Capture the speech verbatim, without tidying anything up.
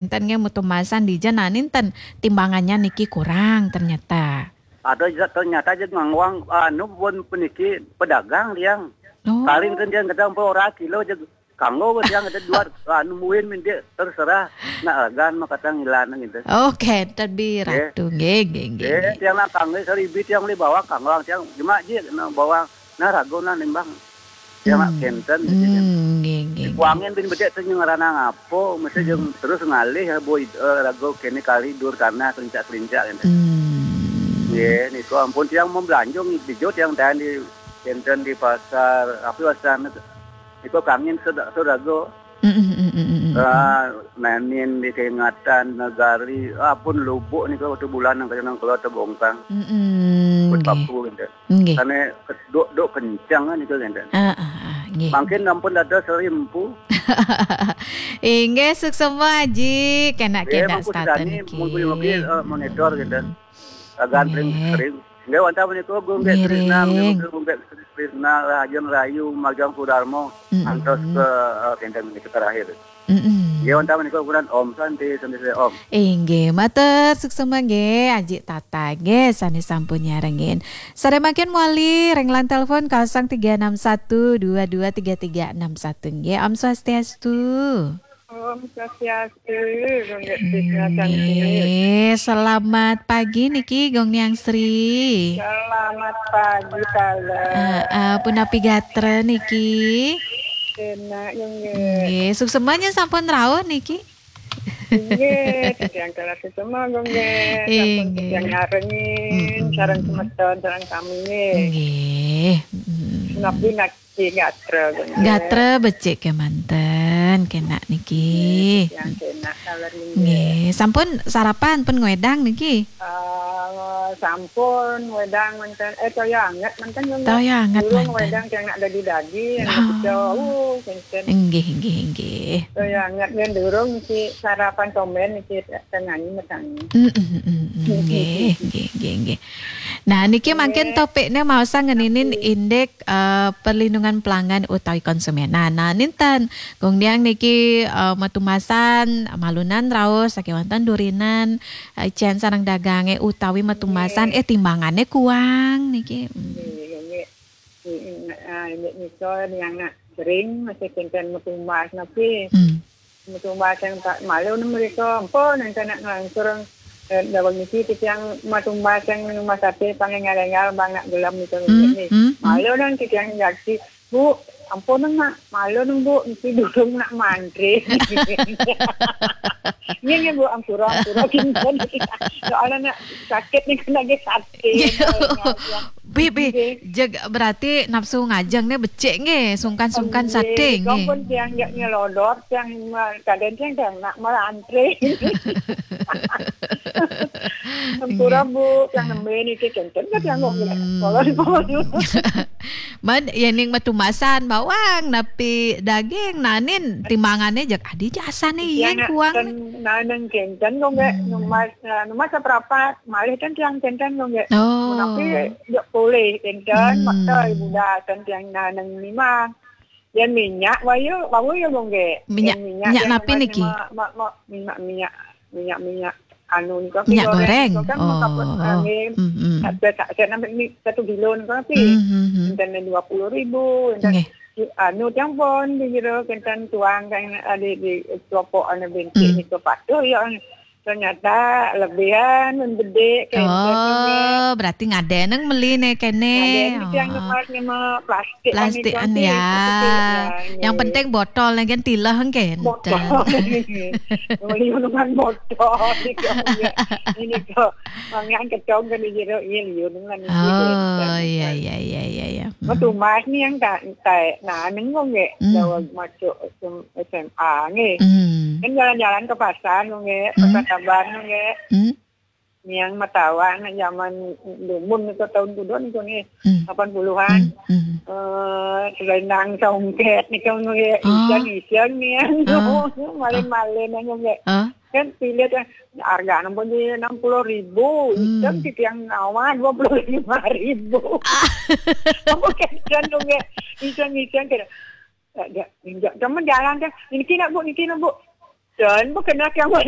Enten nggih matumasan dija, nah, enten timbangannya niki kurang ternyata. Ada juga ternyata aja ngangwang, anu, pun peniki pedagang tiang. Oh. Karing kan tiang kadang ora kilo aja kanggo tiang ada dua, anu, muin minta terserah nak ragan mah kadang ngilan gitu. Oke, tadi Nggih. Ratu. Nggih, nggih, nggih, Nggih, nggih. Tiang nak kanggo seribi tiang beli bawang kanggo tiang cuma aja nak bawang nah rago nah nimbang. Tiang nak Hmm. Kenten gitu kan. Hmm, nggih, nggih, nggih. Kuangin bin bedek tu ngaranang apa, mesti Hmm. jeung terus ngalih boy, eh, rago kene kali dur tanah kelincak-kelincak gitu. Hmm. Nggih, niku ampun tiang mau belanja di jo tiang tahan di Kenten di pasar, apa pasar niku kangin sudah sudah go. Mm, mm, mm, mm, mm, mm. Ah, nanin di keingatan negari, ah, pun lubuk niku waktu bulan yang kena keluar tebongkang. Mm, mm, Pun nggih. Paku gitu. Nggih. Karena duk-duk kencang kan itu gitu. Ah, ah, ah, nggih. Mungkin ampun ada serimpu. Inggih, suksema Aji, kena Nggih, kena mungkin start sani, niki. Mungkin, mungkin, eh, monitor gitu. Agak Nggih. Sering-sering. Nggih, wantah menika Gung Nggih, Trisna, Ring. Menika Gung Nggih Trisna, Rahajeng Rayu, Magang Kudarma, Mm-mm. Antos ke, eh, kenten menika terakhir. Mm-mm. Nggih, wantah menika ukuran Om Santi, Santi Om. Inggih, matur suksema nggih, Aji Tata nggih, sane sampun nyarengin. Sare mangkin mawali ring line telepon kosong tiga enam satu dua dua tiga tiga enam satu nggih. Om Swastiastu. Om Swastiastu, Gung Nggih Trisna Santi. Nggih, selamat pagi niki, Gung Niang Sri. Selamat pagi, Tala. Heeh, punapi gatra niki? Enak, Gung Nggih. Nggih, suksema nyen sampun rauh niki? Nggih, titiang kala suksema, Gung Nggih. Sampun Inggih. Titiang nyarengin, Mm-mm. Sareng semeton, sareng sami nggih. Nggih. Mm-mm. Punapi nak Nggih, gatra, Gung Nggih. Gatra becik kemanten, kena niki. Nggih, yang kena sawer nggih. Nggih, sampun sarapan pun ngwedang niki? Ah, sampun ngwedang manten, eh, toya anget manten, Gung Nggih. Toya anget Durung manten. Ngwedang yang nak dadi-dadi, yang nak Oh. Pecel, uh, kenten. Nggih, nggih, nggih. Toya anget nggih durung niki sarapan tomben niki tengah ini mesang. Mm, mm, mm, mm. Nggih, nggih, nggih, nggih. Nah, niki mangkin Nggih. Topiknya mau sang ngeninin Nggih. Indik eh, perlindungan pelanggan utawi konsumen. Nah, nah, ninten, Gung Niang niki, eh, matumasan, malunan raos, sakewanten durinan, eh, icen sareng dagange utawi matumasan, Nggih. Eh, timbangane kuang niki. Hmm. Nggih, nggih. Nggih, ah, inggih nika yang nak sering masih kenten matumbas napi. Hmm. Matumbas yang tak malu ni mereka, ampun, yang kena ngelangsur, eh, dawang niki titiang matumbas yang rumah sate pangai ngalengal bang nak gelam itu Hmm, ni. Hmm, hmm. Malu nang titiang jaksi, "Bu, ampun nang nak, malu nang Bu, niki durung nak mantri." Ini ni Bu, ampura, ampura, kinten. Soalnya nak sakit ni kena lagi sate. Bi, bi, Nggih. Jeg, berarti nafsu ngajeng ni becik nggih, sungkan-sungkan Nggih, sate nggih. Sampun tiang jak nyelodot, tiang ma-, kadang tiang, tiang nak melantre. Sampura, Nggih. Bu, tiang nembe niki kenten ka tiang kok nggih. Hmm. Kolon, kolon. Man, ya ning matumasan bawang, napi daging, nanin timbangane jak adi jasane Tiang yen nak kuang. Ten, naneng kenten kok nggih, Hmm. numas, eh, numas seprapat, malih ten tiang kenten kok nggih. Oh. Napi jak poleh kenten, Hmm. makta ibu dah ten tiang naneng mimang. Yang minyak, wau ya, wau ya, Bung, nggih. Minyak, Yang minyak minyak yang napi niki? Ma-, ma-, ma-, minyak, minyak, minyak, minyak anu nika, Minyak goreng goreng. Nika kan Oh. Makaput angin. Hmm, hmm. Ada tak, saya nampak ni satu kilo nika tapi Hmm, hmm, hmm. Enten dua puluh ribu, enten Nggih. anu tiang pun di jero, enten tuang kan ada di kelompok anu bintik Hmm. nika patuh ya. Ternyata lebihan, membedik, kayak gitu, Oh, berarti ngadeneng meli ne kene. Ngadeneng tiang Oh. Ngemas, ngemas plastik Plastik kan itu, an ya. Plastik, ya, Yang ya. Penting botol ne kan tilah kan. Botol. Meli dengan botol, gitu, ya. Ini kok, mangan kecong kan di jero, iya, liu dengan itu, Oh, gitu. Iya, iya, iya, iya, iya. Hmm. Matumbas ni yang tak, tak, nah, nengok, nggih. Hmm. Dawa masuk S M A, nggih. Hmm. Kan jalan-jalan ke pasar, nggih. Hmm. Pasar Taban, nggih. Hmm. Niang matawan zaman dumun niku tahun kuda niku nggih, Hmm. lapan puluhan. Hmm, hmm. Eh, selendang songket niku nggih, Ah. Iseng-iseng niang. Ah. Malin-malin niku nggih. Ah. Kan pilih teh harga ampun di enam puluh ribu, Hmm. Iseng titiang nawar dua puluh lima ribu. Ah. Apa kan niku nggih, Iseng-iseng kira. Eh, dia, dia, temen jalan kan, "Niki nak, Bu, niki nak, Bu." done, bukan nak yang mana